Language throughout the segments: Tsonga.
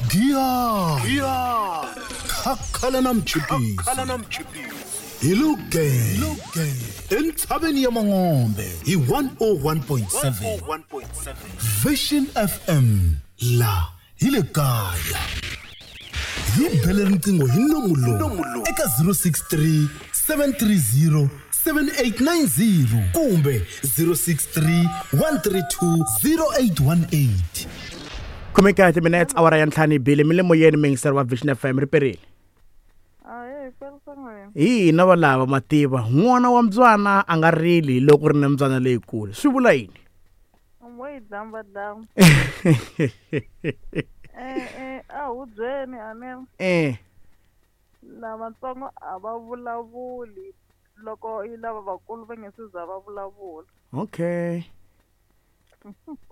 Giya Khakhala na mchipisi hi luge entshaveni ya Mangombe hi 101.7 Vision FM la hi le kaya. Hi bele riqingho hi nomu lowu eka 063 730 7890 kumbe 063 132 0818. Khomeka timinutes awara ya ntlhanu yi bile mi le moyeni muyingiseri wa Vision FM ri perile. Hi hina valava mativa n'wana wa mbyana a nga rili loko ri na mbyana leyikulu swi vula yini? A hubyeni a ni lavatsongo a va vulavuli loko yi lava vakulu va nge se za va vulavula. Okay,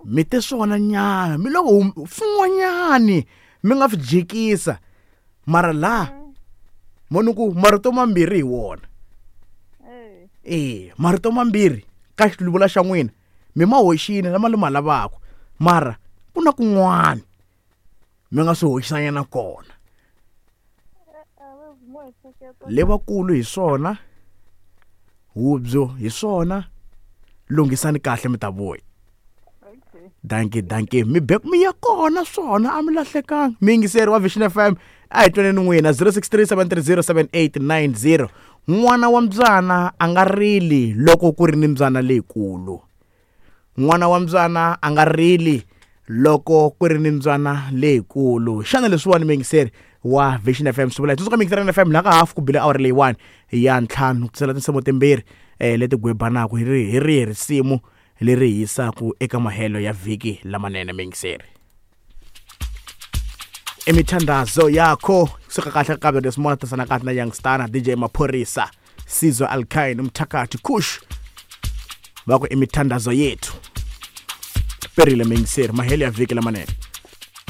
mi te swona nyana mi loko swin'wanyani mi nga swi jikisa mara laha moni ku marito mambirhi hi wona. E marito mambirhi ka xiluvula xa n'wina mi ma hoxile lama li ma lavaka mara ku na kun'wana mi nga swi hoxisanyana kona. Levakulu hi swona hubyo hi swona lunghisani kahle mi ta vuya. Dankie dankie mi be mi ya kona swona a mi lahlekanga. Miyingiseri wa Vision FM a hi twaneni n'wina 0637307890. N'wana wa mbyana a nga rili loko ku ri ni mbyana leyikulu. N'wana wa mbyana a nga rili loko ku ri ni mbyana leyikulu. Xana leswiwani muyingiseri wa Vision FM swi vula yini? Tsundzuka muyingiseri FM laha ka hafu ku bile awara leyiwani ya ntlhanu ku tisela tinsimu timbirhi leti gwebanaka hi rihi risimu leri hi yisaka eka mahelo ya vhiki lamanene muyingiseri. Imithandazo yakho kusuka kahle ka Kabelo tisana kahle na Youngstana DJ Maphorisa Sizwe Alkine Umthakathi Kush va ku imithandazo yethu. Perile muyingiseri mahelo ya vhiki lamanene.